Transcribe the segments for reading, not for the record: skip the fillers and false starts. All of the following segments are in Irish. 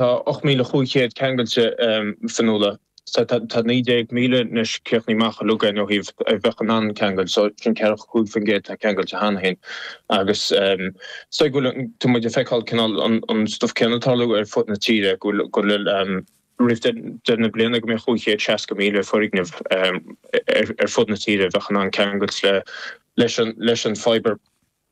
Tá 8,500 ceangailte, Fionnuala. So tá 19,000 anois críochnaithe amach uilig againn ó thaobh a bheadh in ann ceangal. So sin 45% atá ceangailte cheana féin. Agus so go bhfuil, tá muid ag feiceáil cineál an stuif céanna ag tarlú ar fud na tíre, go bhfuil, go bhfuil roimh deireadh na bliana go mbeadh 560,000 foirgneamh ar fud na tíre a bheadh in ann ceangailt le leis an fibre.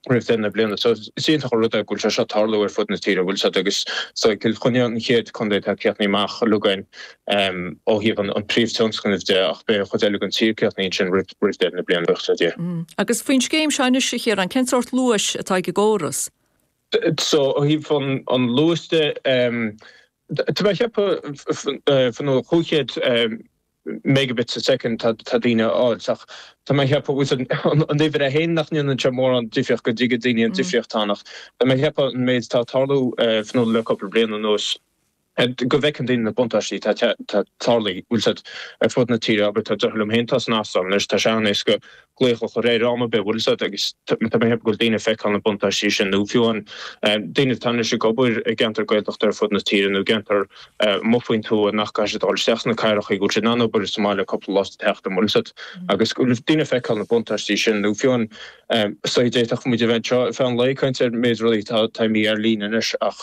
roimh deireadh na bliana. So is iontach an rud é go bhfuil sé seo ag tarlú ar fud na tíre, bhfuil 's agat agus so Cill Chainnigh an chéad contae atá críochnaithe amach uilig againn ó thaobh an príomh-tionscnaimh de ach beidh an chuid eile den tír críochnaithe ansin roimh deireadh na bliana, buíochas le Dia. Agus faoin scéim seo anois, a Chiaráin, cén sórt luais atá ag an gcóras? So ó thaobh an luais de, tá mé ag ceapadh, Fionnuala, 500 megabits a second tá daoine a fháil ach tá mé ag ceapadh bhfuil 's agat an uimhir é féin nach ndéanann sé mórán difríocht go dtuigeann daoine an difríocht atá ann ach tá mé ag ceapadh an méid atá ag tarlú Fionnuala le cúpla bliain anuas go bhfeiceann daoine na buntáistí atá tarlaithe bhfuil 's agat ar fud na tíre abair tá deartháir liom féin atá san Astráil anois tá sé an-éasca glaoch a chur air am ar bith, bhfuil 's agat, agus tá mé ag ceapadh go bhfuil daoine ag feiceáil na buntáistí sin, nó fiú amháin daoine atá anois ag obair i gceantar Gaeltachta ar fud na tíre nó i gceantar amuigh faoin tuath nach gcaithfidh siad dul isteach sna cathracha, go bhfuil siad in ann obair sa mbaile cúpla lá sa tseachtain, bhfuil 's agat, agus go bhfuil daoine ag feiceáil na buntáistí sin, nó fiú amháin so d'fhéadfadh muid a bheith anseo ar feadh an lae ag caint ar méid rudaí atá imithe ar líne anois ach.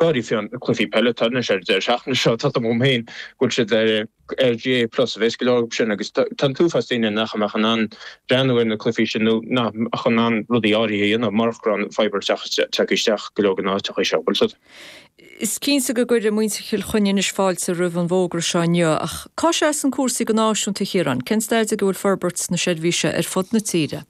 Go háirithe fiú na cluichí peile atá anois ar an deireadh seachtaine seo, tá agam féin go bhfuil siad ar ar GAA Plus a bheas go leor acu sin agus tá an t-uafás daoine nach mbeadh in ann breathnú ar na cluichí sin nó nach mbeadh in ann rudaí áirithe a dhéanamh murach go raibh an fibre tagtha isteach go leor de na háiteacha seo. Bhfuil 's agat? Is cinnte go gcuirfidh muintir Chill Chainnigh anois fáilte roimh an bhfógra seo inniu ach cá seasann cúrsaí go náisiúnta, a Chiaráin? Cén staid ag a bhfuil forbairt na seirbhíse ar fud na tíre?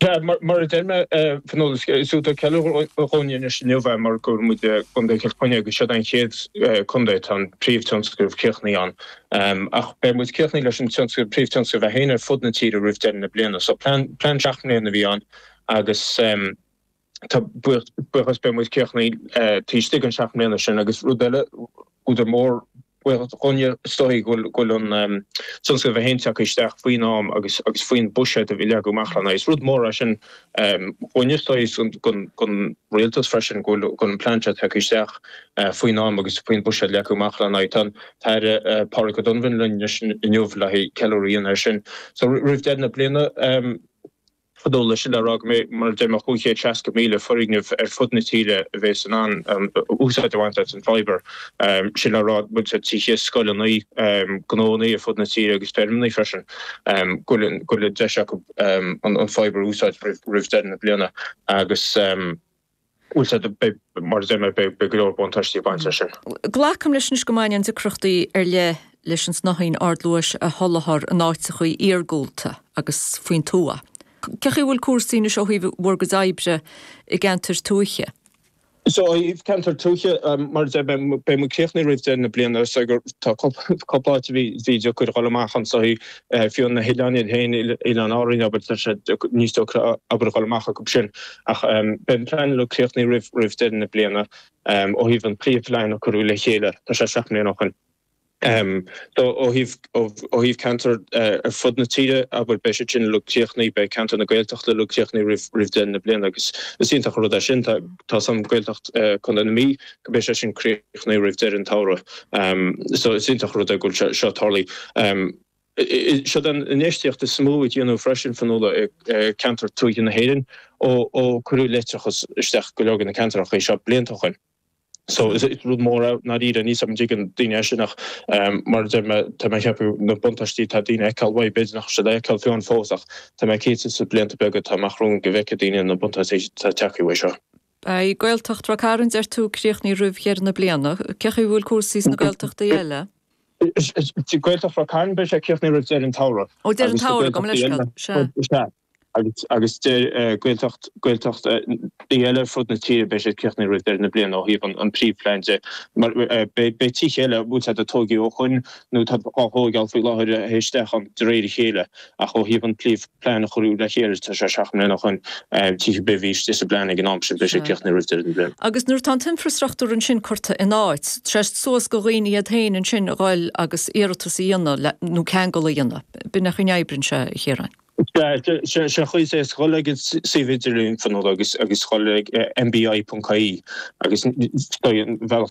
Sea, mar a deir mé, Fionnuala, is údar ceiliúrtha dhúinne anois inniu é mar go bhfuil muid i gContae Chill Chainnigh agus seod é an chéad contae atá an príomhthionscnamh críochnaithe ann. Ach beidh muid críochnaithe leis an tionscnamh, príomhthionscnamh é féin ar fud na tíre roimh deireadh na bliana. So plean, plean seacht mbliana a bhí ann agus. Tá buíochas, beidh muid críochnaithe taobh istigh den 7 mbliana sin agus rud eile, údar mór buíochas dhúinne is dóigh go bhfuil an tionscnamh é féin tagtha isteach faoin am agus agus faoin buiséad a bhí leagtha amach lena aghaidh. Is rud mór é sin dhúinne is dóigh is don rialtas freisin go bhfuil an plean seo tagtha isteach faoin am agus faoin buiséad leagtha amach lena aghaidh. Tá an tAire Pádraig O'Donovan linn anois inniu le haghaidh ceiliúradh a dhéanamh air sin. So roimh deireadh na bliana, Fionnuala, sin le rá go mbeidh, mar a deir mé, 560,000 foirgneamh ar fud na tíre a bheas in ann úsáid a bhaint as an fibre. Sin le rá, bhfuil 's agat, tithe, scoileanna, gnóanna ar fud na tíre agus feirmeanna freisin, go bhfuil an deis acu an fibre a úsáid roimh deireadh na bliana agus. Bhfuil 's agat, beidh, mar a deir mé, beidh go leor buntáistí ag baint leis sin. Glacaim leis anois go mbaineann deacrachtaí ar leith leis an snáithín ardluais a sholáthar in áiteachaí iargúlta agus faoin tuath. Cé chaoi a bhfuil cúrsaí anois ó thaobh bhur gcuid oibre i gceantair tuaithe? So, ó thaobh ceantar tuaithe, mar a deir mé, beidh muid críochnaithe roimh deireadh na bliana so gur tá cúpla áit a bhí deacair a dhul amach anso, Fiú na hoileáin iad féin, Oileáin Árainn, abair, tá sé níos deacra abair a dhul amach acu sin. Ach beidh an plean uilig críochnaithe roimh roimh deireadh na bliana. Ó thaobh an príomhphlean a cuireadh le chéile, tá sé 7 mbliana ó shin. So ó thaobh ó thaobh ceantar ar fud na tíre, abair, beidh siad sin uilig críochnaithe, beidh ceantar na Gaeltachta uilig críochnaithe roimh roimh deireadh na bliana agus is iontach an rud é sin. Tá tá 's agam Gaeltacht Chontae na Mí, go mbeidh sé sin críochnaithe roimh deireadh an tsamhraidh. So is iontach an rud é go bhfuil seo tarlaithe. Seod an infheistíocht is mó a déanadh freisin, Fionnuala, i gceantar tuaithe na hÉireann ó ó cuireadh leictreachas isteach go leor de na ceantracha seo blianta ó shin. So is rud mór é ndáiríre, níl 's agam an dtuigeann daoine é sin ach mar a deir mé, tá mé ag ceapadh na buntáistí atá daoine a fheiceáil uaidh, b'fhéidir nach bhfuil siad á fheiceáil fiú amháin fós ach tá mé cinnte sna blianta beaga atá amach romhainn go bhfeicfidh daoine na buntáistí atá tagtha uaidh seo. Beidh Gaeltacht Ráth Cairn, deir tú, críochnaithe roimh dheireadh na bliana. Cé chaoi a bhfuil cúrsaí sna Gaeltachtaí eile? Gaeltacht Ráth Cairn, beidh sé críochnaithe roimh deireadh an tsamhraidh. Ó, deireadh an tsamhraidh, gabh mo leithscéal. Sea. Sea. Agus, agus Gaeltacht, Gaeltachtaí eile ar fud na tíre, beidh siad críochnaithe roimh deireadh na bliana ó thaobh an, an príomhphlean de. Mar, beidh, beidh tithe eile, bhfuil 's agat, a tógadh ó shoin nó atá á thóigeáil faoi láthair a théid isteach ann de réir a chéile ach ó thaobh an príomh, plean a cuireadh le chéile, tá sé 7 mbliana ó shoin, tithe ar bith a bhí istigh sa bplean ag an am sin, beidh sé críochnaithe roimh deireadh na bliana. Agus nuair atá an t-infreastruchtúr ansin curtha in áit, tá sé suas go dhaoine iad féin ansin a ghoil agus iarratas a dhéanamh nó ceangal a dhéanamh. B'in an chaoi a n-oibríonn sé, a Chiaráin. Sea, sé an chaoi is dhul ag an suíomh idirlín Fionnuala agus agus dhul ag nbi.ie agus an bhealach.